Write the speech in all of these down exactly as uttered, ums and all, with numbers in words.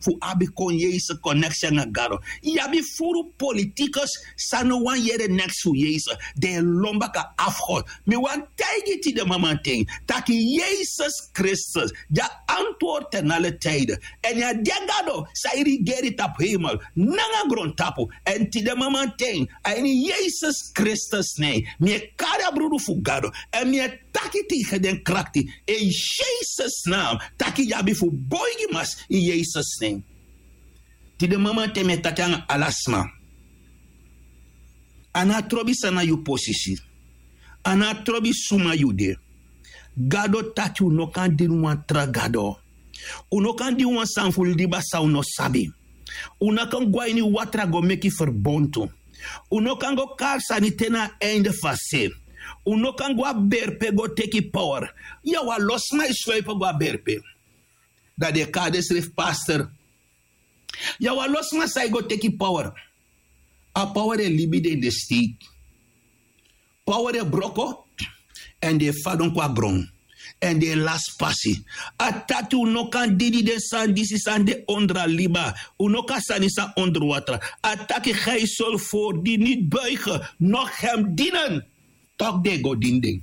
fu abi kon yesus koneksi nanga gado. Yu abi furu politikus san no wani yere neks fu yesus. Den e lon baka afgod. Mi wani taigi yu tide mamanten taki yesus kristus di a antwortu en ale tide. Èn yu a de gado san e rigeri tapu heimel nanga grontapu. Èn tide mamanten a ini yesus kristus nen mi e kari a brudu fu gado. Èn mi e taki tegen den krakti in yesus naam taki yu abi fu boigi mas in yesus nen. Tide mamanten mi e taki nanga ala sma. A no a trobi san na yu posisi. A no a trobi suma yu de. Gado taki un no kan dini wan tra gado. Un no kan dini wan sani fu liba san un no sabi. Un no kan go a ini watra go meki ferbontu. Un no kan go kari sani te na a einde fu a se. Un no kan go a berpe go teki power. Yu a wan lo sma e sweipe go a berpe. Dan den e kari densrefi pastor. Yu a wan lo sma san e go teki power. A power e libi den den steik. Power e broko. Èn den e fadon kon a gron. Èn den e lasi pasi. A taki un no kan didi den sani disi san de ondro a liba. Un no kan sani san ondro watra. A taki ga yu sori fori di niti buige. Nog hem dinen. Tok' den e go dini den.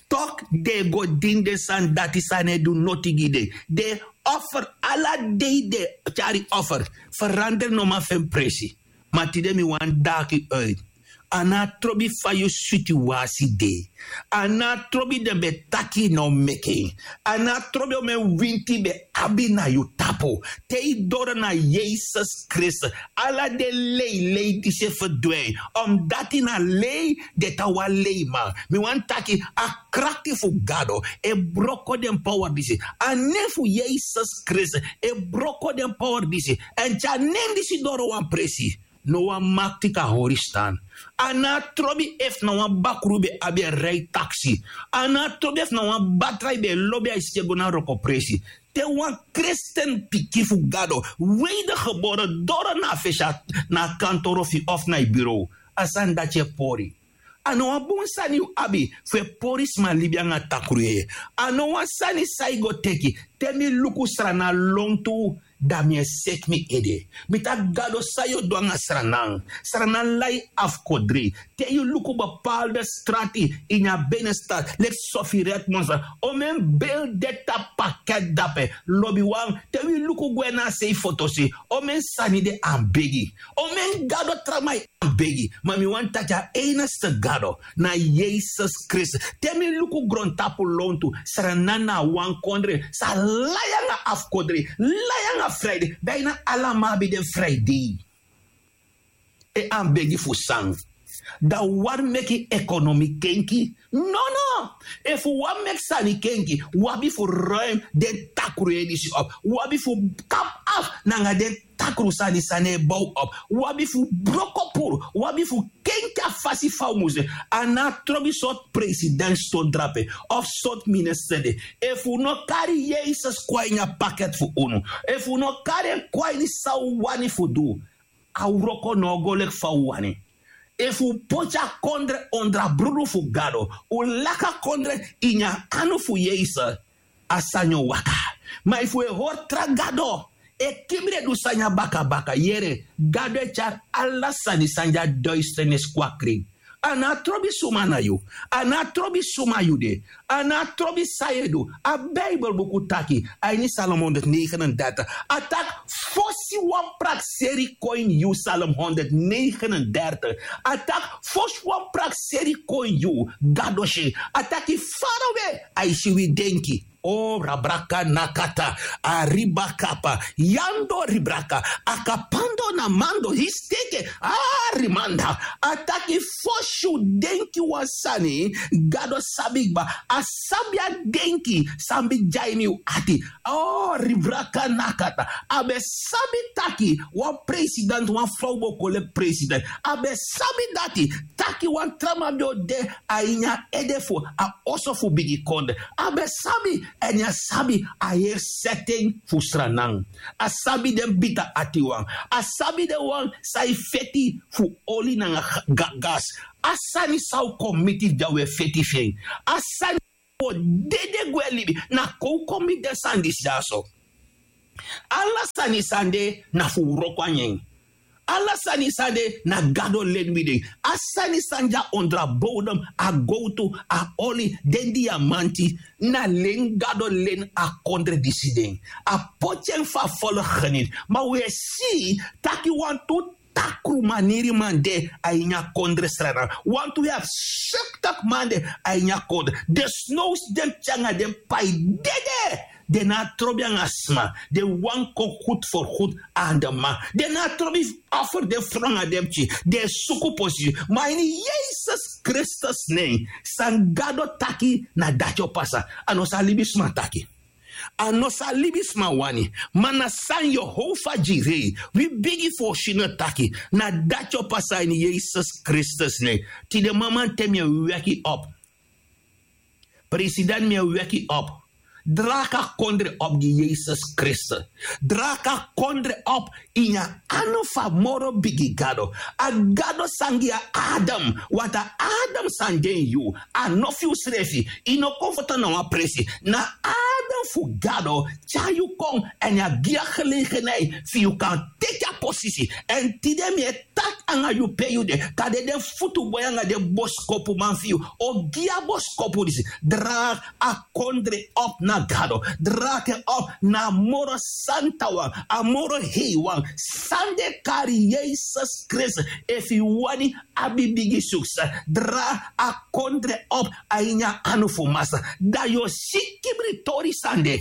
Tok' den e go dini den sani dati san no e du noti gi den. Den e offer ala dei den e tyari offer. Feranderi no man fu en presi. Ma tide mi wani daki uit. A no a trobi fa yu situasi de. A no a trobi den ben taki yu no meki en. A no a trobi omen winti ben abi na yu tapu. Te yu doro na yesus kristus ala den leilei disi e ferdwin. Omdati na lei den tan wan leiman. Mi wani taki a krakti fu gado e broko den power disi. A nen fu yesus kristus e broko den power disi. Èn te a nen disi doro wan presi no wan makti kan hori stan. A no a trobi efu na wan bakru ben abi en rei taksi. A no a trobi efu na wan batra yu ben e lobi a yu skin e go na wrokopresi. Te wan kristen pikin fu gado wedergebore doro na a fesi na a kantoro fu yu of na yu burow. A sani dati e pori. A no wan bun sani yu abi fu e pori sma libi nanga takru yeye. A no wan sani san yu go teki. Te mi luku srana lontu dan mi e seki mi ede. Mi taki gado san yu o du nanga sranan? Sranan lai afkodri. Te yu luku bepalde strati ini a benestat leki sofi redmond san omen bel de tapu paket dape. Lobiwan te wi luku gwe na a sei fotosi omen sani de anbegi. Omen gado traman e anbegi. Ma mi wani taki a einigste gado na yesus kristus. Te mi luku grontapu lontu sranan na a wan kondre san lai nanga afkodri lai nanga fraide. Baina ala man abi den fraidei. E anbegi fu san? Dan wari meki ekonomi kenki. Nono. Efu wari meki sani kenki wabi fu ruim den takru edisi op. Wabi fu kap af nanga den takru sani sani e bow op. Wabi fu broko puru. Wabi fu kenki a fasi fa un mus de. A no a trobi sortu president ston drape of sortu minister de. Efu un no kari yesus kon a ini a paket fu unu, efu un no kari en kon a ini san un wani fu du, a wroko no o go leki fa un wani. Efu un poti a kondre ondro a brudu fu gado, un laki a kondre ini a anu fu yesus, a sani o waka. Ma efu un e hori tra gado e kibri e du sani a bakabaka yere, gado e tyari ala sani san de a duisternis kon a krin. A no a trobi suma na yu. A no a trobi suma yu de. A no a trobi san yu e du. A bibel buku taki a ini salom honderdnegenendertig a taki fosi wan prakseri kon ini yu. Salom honderdnegenendertig a taki fosi wan prakseri kon ini yu. Gado si a taki farawe a e si wi denki. O rabraka nakata a ribakapa yando ribraka a kapando na mando histeke. A rimanda a taki fosi un denki wan sani. Gado sabi kba. A sabi a denki san ben de a ini un ati. O ribraka nakata a ben sabi taki wan president wan frow bo kon leki president. A ben sabi dati taki wan tra man ben o de a ini a ede fu a oso fu bigi konde. A ben sabi èn a sabi a heri seten fu sranan. A sabi den bita atiwan. A sabi den wan san e feti fu oli nanga gas. A sani san un kon miti fu di a un e feti fu en. A sani san un o dede gwe libi na kon un kon miti den sani disi dyaso. Ala sani san de na fu wroko a nyen. Ala sani san de na gado len wi den. A sani san de a ondro a bowdom, a gowtu, a oli, den diamanti, na len gado len a kondre disi den. A poti en fu a folo geniti. Ma wi e si taki wantu takru maniri man de a ini a kondre srana. Wantu wi abi sektak man de a ini a kondre. Den snowsi den pikin nanga den pai dede. Den no abi trobi nanga sma. Den wani kon gudu for gudu anda man. Den no abi trobi fu offer den fru nanga den pikin. Den e suku posisi. Ma ini yesus kristus nen, san gado taki na dati o pasa. A no san libisma taki. A no san libisma wani. Ma na san yehofa gi rei, wi bigi fu o si no taki. Na dati o pasa ini yesus kristus nen. Tide maman te mi e weki op. President mi e weki op. Draka kondre op gi yesus kristus. Draka kondre op ini a anu fu a moro bigi gado. A gado san gi a adam. Wanta adam san de ini yu. A no fu yu srefi. Yu no kon foto na wan presi. Na adam fu gado tyari yu kon. Èn a gi a gelegenheit fu yu kan teki a posisi. Èn tide mi e taki anga yu pe yu de, kande den futu boi anga den boskopuman fu yu o gi a boskopu disi. Dragi a kondre op na gado. Dragi en op na a moro santa wan, a moro hei wan, san den kari yesus kristus. Efu yu wani abi bigi sukses, dragi a kondre op a ini a anu fu masa. Dan yu o si kibritori san de.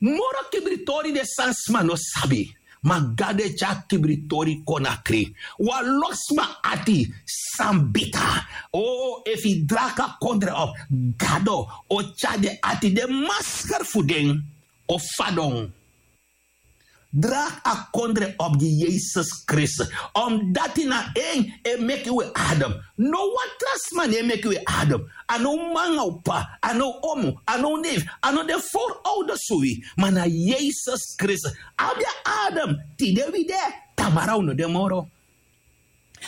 Moro kibritori de san sma no sabi. Ma gado e tyari kibritori kon na krin. Wan lo sma ati san bita. O efu yu dragi a kondre op, gado o tyari den ati, den masker fu den o fadon. Dragi a kondre op gi yesus kristus. Omdati na en e meki wi adam. No wan tra sma no e meki wi adam. A no wi man nanga wi p'pa, a no wi omu, a no wi nefi, a no den forouders fu wi. Ma na yesus kristus abi a adam. Tide wi de, tamara wi no de moro.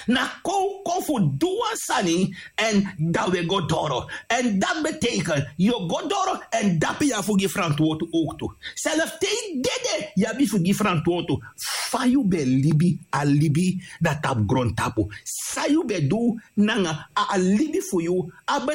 Na kon wi kon fu du wan sani. Èn dan wi e go doro. Èn dati beteiken yu o go doro èn dape yu abi fu gi frantwortu owktu. Self te yu dede yu abi fu gi frantwortu. Fa yu ben libi a libi na tapu grontapu? San yu ben du nanga a libi fu yu? A ben